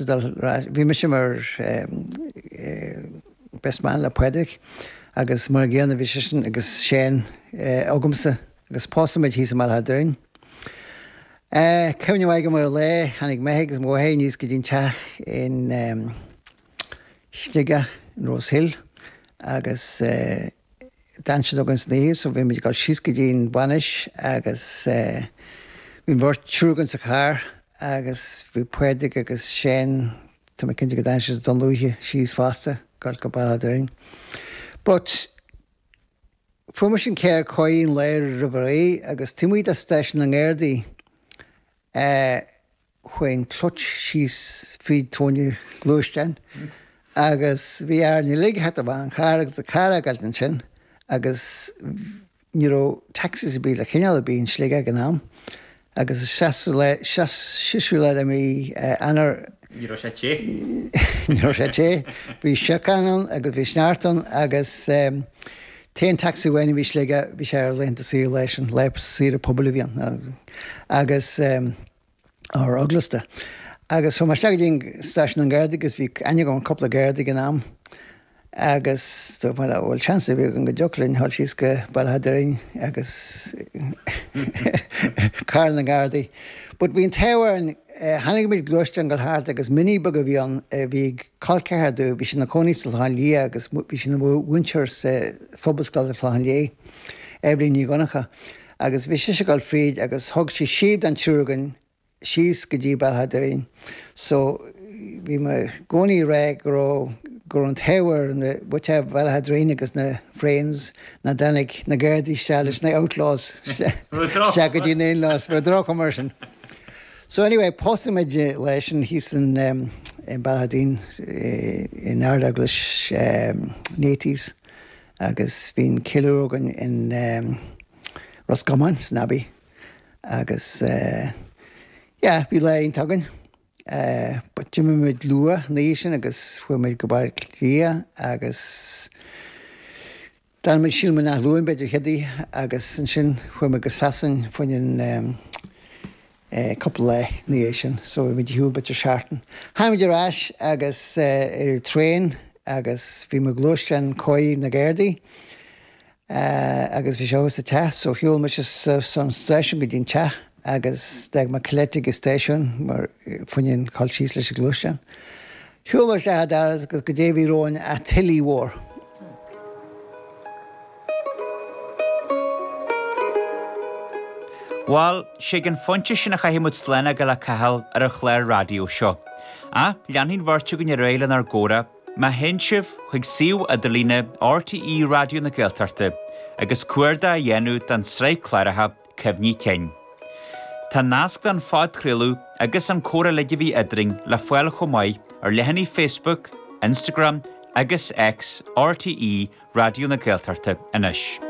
Dul ar ais. Bhí mise mar best man le Pádraig agus mar an gcéanna bhí seisean agus Shane agamsa agus pósadh muid thíos i mBaile Átha Doirn. Cuimhne mhaith agam ar an lá, tháinig m'athair agus mo mháthair aníos go dtí an teach in Sligeach in Rose Hill agus D'fhan siad againn san oíche so bhí muid ag dul síos go dtí an bhainis agus bhí an bheirt, triúr againn sa charr agus bhí Pádraig agus Shane, tá mé cinnte go dtáinig siad i Dún Lúiche síos fosta, ag dul go Baile Átha Doirn. But fuair mise an carr an lá roimh ré agus taobh amuigh de stáisiún na nGardaí eh, Chuaigh an clutch síos fríd tóin an ghluaisteáin agus bhí orainn uilig a theacht amach an charr agus an carr a fhágáilt ansin agus ní raibh taxis ar bith le coinneáil ar bith in Sligeach ag an am agus is seasúr lá de mhí Eanáir Ní raibh sé te. Ní raibh sé te. Bhí síocán ann agus bhí sneachta ann agus t-aon taxi amháin a bhí i Sligeach bhí sé ar laethanta saoire lá sin, lá saoire pobail a bhí ann agus or eaglasta. Agus chuaigh mé isteach go dtí an stáisiún na nGardaí agus bhí aithne agam ar cúpla Garda ag an am agus dúirt mé leo bhfuil seans ar bith againn go dtiocfadh linn dhul síos go Baile Átha Doirn agus carr na nGardaí. But bhí an t-ádh orainn, tháinig muid gluaisteán ag dul thart agus Mini beag a bhí ann a bhí ag col ceathar domh, bhí sé ina chónaí sa Chlochán Liath agus bhí sí ina mhúinteoir sa Phobalscoil sa Chlochán Liath, Eibhlín Ní Dhonncha. Agus bhí sise ag dul fríd agus thug sí síob don triúr againn síos go dtí Baile Átha Doirn. So bhí mé i gcónaí ag rá go raibh, go raibh an t-ádh ar na, muintir Bhaile Átha Doirn agus na Frames nach dtáinig na Gardaí isteach leis na Outlaws isteach go dtí na in-laws. Bhí droch-chuma air sin. So anyway, pósadh muid leis sin thíos in Baile Átha Doirn in Ard-Eaglais Nate's. Agus bhí an ceiliúradh againn in Ros Comáin, san Abbey agus yeah, bhí lá iontach againn. But d'imigh muid luath an oíche sin agus chuaigh muid go Baile Átha Cliath agus d'fhan muid sílim in Áth Luain b'fhéidir chéad oíche agus ansin chuaigh muid go Sasain fá choinne cúpla lá ina dhiaidh sin so bhí muid ar shiúl b'fhéidir seachtain. Tháinig muid ar ais agus ar traein agus bhí mo ghluaisteán chóir na Gardaí agus bhí sé thuas sa teach so shiúil mise ón stáisiún go dtí an teach agus d'fhág mé Colette ag an stáisiún mar fá choinne dhul síos leis an ghluaisteán. Shiúil mé isteach an doras agus goidé a bhí romhainn ach tuile mhór. Bhal, sé ag an phointe sin a chaithfidh muid slán a fhágáil le Cathal ar an chlár raidió seo. Ach leanfaidh an bheirt againn ar aghaidh lenár gcomhrá má théann sibh chuig suíomh idirlíne RTÉ Raidió na Gaeltachta agus cuardach a dhéanamh don tsraith cláracha Cuimhní Cinn. Tá nasc don phodchraoladh agus an comhrá uilig a bhí eadrainn le fáil chomh maith ar leathanaigh Facebook, Instagram agus X RTÉ Raidió na Gaeltachta anois.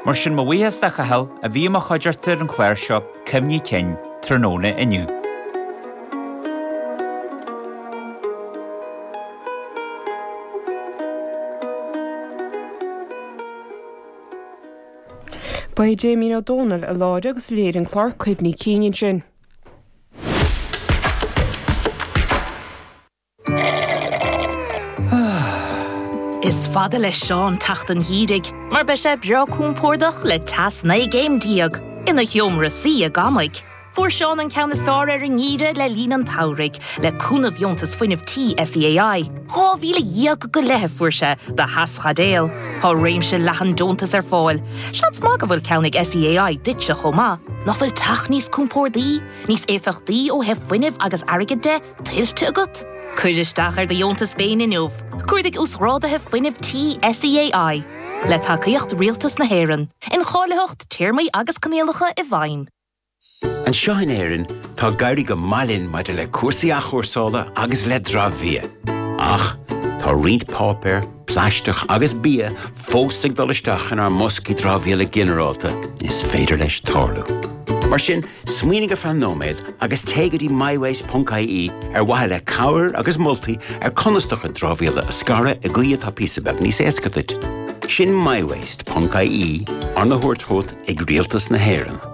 Mar sin, mo bhuíochas do Chathal a bhí i mo chuideachta ar an chlár seo Cuimhní Cinn tráthnóna inniu. Ba é Damien Ó Dónaill a láithrigh agus a léirigh an clár Cuimhní Cinn ansin. Is fada le Seán teacht an gheimhridh mar beidh sé breá compordach le teas 19 gcéim ina sheomra suí i gCamaigh. Fuair Seán an ceann is fearr ar an ngeimhreadh le linn an tsamhraidh le cúnamh Dheontas Fuinnimh Tí SEAI. 12,000 go leith a fuair sé do theaschaidéal. Tá réimse leathan deontas ar fáil. Seans maith go bhfuil ceann ag SEAI duitse chomh maith. Nach bhfuil teach níos compórdaí, níos éifeachtaí ó thaobh fuinnimh agus airgid de? tuillte agat? Cuir isteach ar do dheontas féin inniu. Cuardaigh Uasghráduithe Fuinnimh Tí SEAI. Le tacaíocht Rialtas na hÉireann. Incháilitheacht, téarmaí agus coinníollacha i bhfeidhm. Anseo in Éirinn, tá ag éirí go maith linn maidir le cúrsaí athchúrsála agus le dramhbhia. Ach tá roinnt páipéar, plaisteach agus bia fós ag dul isteach inár mboscaí dramhaíola ginearálta, is féidir leis tarlú. Mar sin, smaoinigh ar feadh nóiméad agus téigh go dtí mywaste.ie ar mhaithe le cabhair agus moltaí ar conas do chuid dramhaíola a scaradh i gcaoi atá píosa beag níos éasca duit. Sin mywaste.ie, arna thabhairt chugat ag Rialtas na hÉireann.